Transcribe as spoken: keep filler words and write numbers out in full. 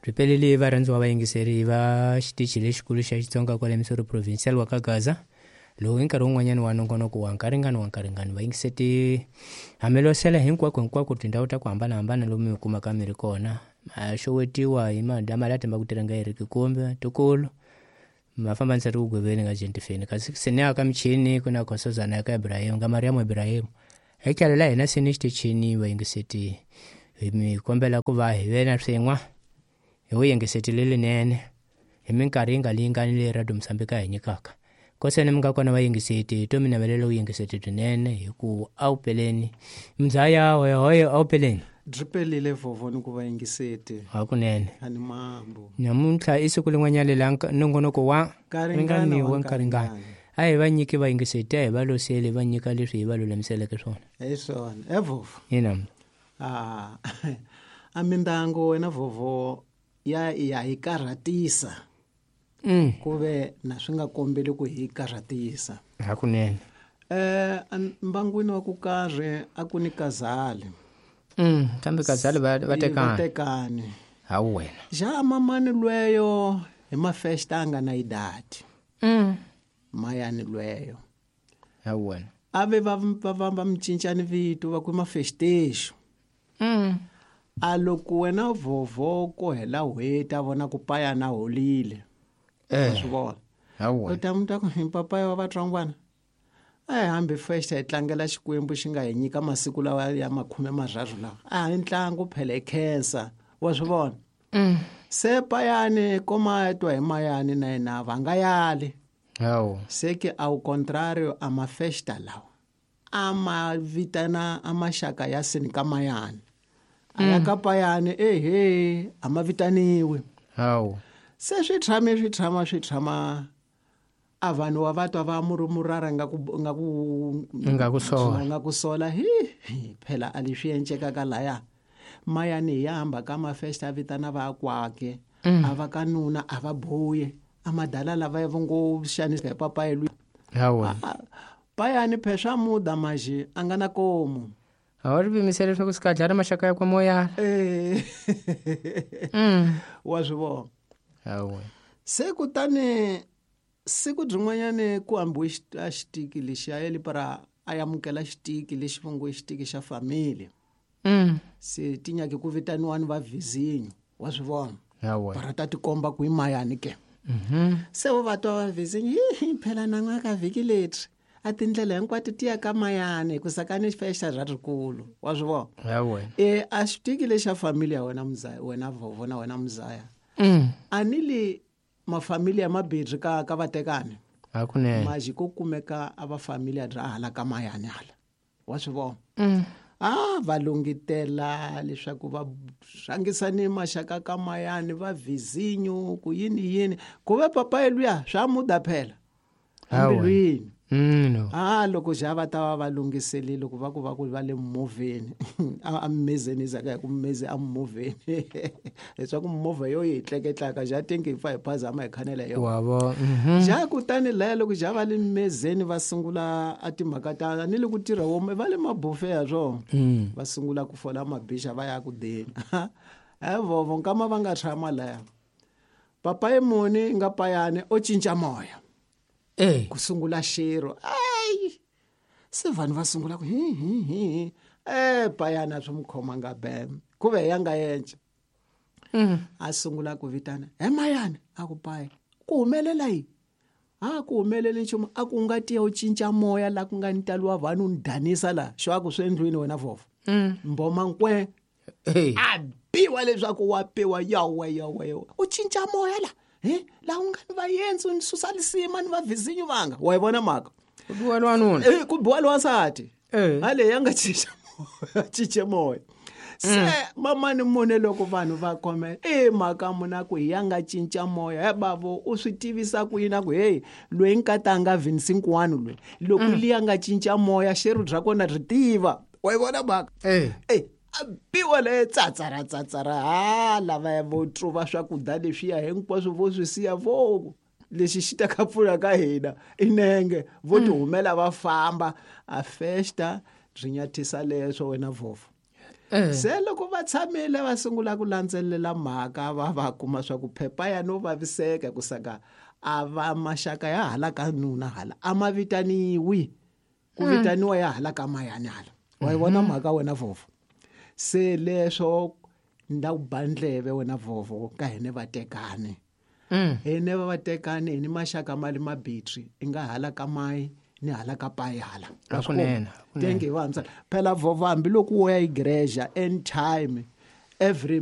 Ripelele varhandziwa vayingiseri va xitichi lexikulu xa Xitsonga kwale Missouri Provincial wa ka Gaza lowu hi nkarhi wun'wanyana wa nongonoko wa nkaringano wa nkaringano vayingiseti hamelosela hinkwako hinkwako tindhawu ta ku hambanahambana lomu mi kumaka mi ri kona ma xowetiwa hi madama la tembaka ku tirha nga heriki kumbe tukulu ma fambanisa ri ku gweveni nga jentifeni kasi seni ka michini ku na khosozana ya ka Ibrahim nga Mariam Ibrahim etlhelo la hina seni xitichini vayingiseti hi mi kombela ku va hi ve na swin'we hi vuyingiseti lelinene hi minkarhi yi nga lingani leyi Radio Mozambique a hi nyikaka koseni mi nga kona vayingiseti to mi navelela vuyingiseti byinene hi ku a wu peleni mzaya hoyehoye a wu peleni byi pelile vhovho ni ku vayingiseti hakunene ani mambo namuntlha i siku lin'wanyana la nongonoko wa Nkaringano wa wa nkaringano a hi va nyiki vayingiseti a hi va loseli va nyika leswi hi va lulamiseleke swona hi swona e vhovho ina a a mindyangu wena vhovho ya ya hi karhatisa mm. ku ve na swi nga kombeli ku hi karhatisa hakunene eh mbangwini wa ku karhi a ku ni kazali mm. kambe kazali va va tekani tekani hawu wena ja mamani lweyo hi mafesta a nga na idati mm. mayani lweyo hawu wena a ve va va va va mi cincani vito va ku i mafestexo mm. a loko wena vhovho ko hela n'hweti a vona ku payana holile wa eh swi vona hawu u wena ta mi ta ku hi papaya wa vatsongwana a hi hambi festa hi tlangela xikwembu xi nga hi nyika masiku lawa ya makhume marharhu lawa a hi ntlangu phela hi khensa wa swi vona mm. se payani koma twa hi mayani na yena va nga yali hawu se ke au contrario a mafesta lawa a ma vitana a maxaka ya seni ka mayani a ya ka payani ehe a ma vitaniwi hawu se swi tshame swi tshama swi tshama a vanhu wa va twa va murumurara nga ku nga ku Nga ku sola. nga ku sola hi hi, phela a leswi encekaka laya mayani hi ya hamba ka mafesta a vitana vakwake Mm. a va ka nuna a va buye a madala lava va ngo xanisa hi papayi lwi hawu wena Ah, payani phe swa muda maji a nga na komu a wu ri pimisele leswaku swi kadlala maxaka ya kwa moyana Eh, mm. wa swi vona hawu wena se kutani siku byin'wanyani ku hambiwe xit- a xitiki lexi a yeli para a amukela xitiki lexi va ngo i xitiki xa family mm. se ti nyake ku vitaniwa ni va vizinyo wa swi vona hawu wena para ta tikomba ku i mayani ke mhm se vo va twa va vizinyo hi phela nan'waka vhiki leri a tindlela hinkwato ti ya ka mayani hikusa ka ni festa ra rikulu wa swi vona hawu wena e a xitiki lexa family ya wena muzaya wena vhovho na wena muzaya mm. a ni li mafamili ya mabirhi ka ka vatekani hakunene maji ko kumeka a va familia bya hala ka mayani hala wa swi vona mm. a va lungitela leswaku va rhangisa ni maxaka ka mayani va vizinyo ku yini yini ku ve papayi luya swa muda phela Hawa. embilwini Mm, no. a loko ja va ta va va lunghiselile ku va ku va ku va le movheni a a mimezeni zaka hi ku mimeze a movheni leswaku movha yo yi hi tleketlaka ja tingi hi pfa hi phazama hi khanela hi yona wa vo mhm ja kutani laya loko ja va le mimezeni va sungula a timhaka ta ni le ku tirha wo va le mabufe ya swona mm. va sungula ku fola mabixa va ya ku deni e vovo nkama va nga tshama laya papayi muni nga payani o cinca moya eh ku sungula xero ayi se vanhu va sungula ku hi hi hi hi e payani a swi mu khomanga bem ku ve ya nga yenca mm. a sungula ku vitana he mayani a ku paya ku humelela yini a ku humeleli nchumu a ku nga tiya u cinca moya la ku nga ni talo wa vanhu u ni danisa laha xo a ku swi endlwini wena vhovho Mm. mboma nkwe Eh. a biwa leswaku wa biwa yawe yawe yawe u cinca moya la he laha u nga ni vayenzi u ni susa lisima ni vavhizinyu vanga wa yi vona mhaka ku biwa lwanuna Eh, ku biwa lowansati Eh. hale ya nga cinca moya cince moya se mamani mune loko vanhu va khome e mhaka muna ku hi ya nga cinca moya he bavo u swi tivisa ku yini a ku heyi loyi nkata a nga vhinisi nkuwani loyi loko liya nga cinca moya xeru bya kona ri tiva wa yi vona mhaka Eh. e a biwa le tsatsara tsatsara ha lava vo tluva swakudya leswiya hinkwaswo vo swi siya vo lexi xi ta ka pfuna ka hina i nenge vo ti humela va famba a festa byi nyathisa leswo wena vhovho Eh. Se loko va tshamile va sungula ku landzelela mhaka, va va kuma swa ku phepha ya no vaviseka ku saka a va maxaka ya hala ka nuna hala a ma vitaniwi, ku vitaniwa ya hala ka mayani hala. Wa yi vona mhaka wena vovo? Se leswo nda ku ba ndleve wena vovo ka hine vatekani. Mm. Hine va vatekani hi ni maxaka mali mabitri i nga hala ka mayi ni hala ka payi hala. Hakunene, hakunene. Tenge hi vantshwa phela vovo hambiloko wo ya igreja anytime every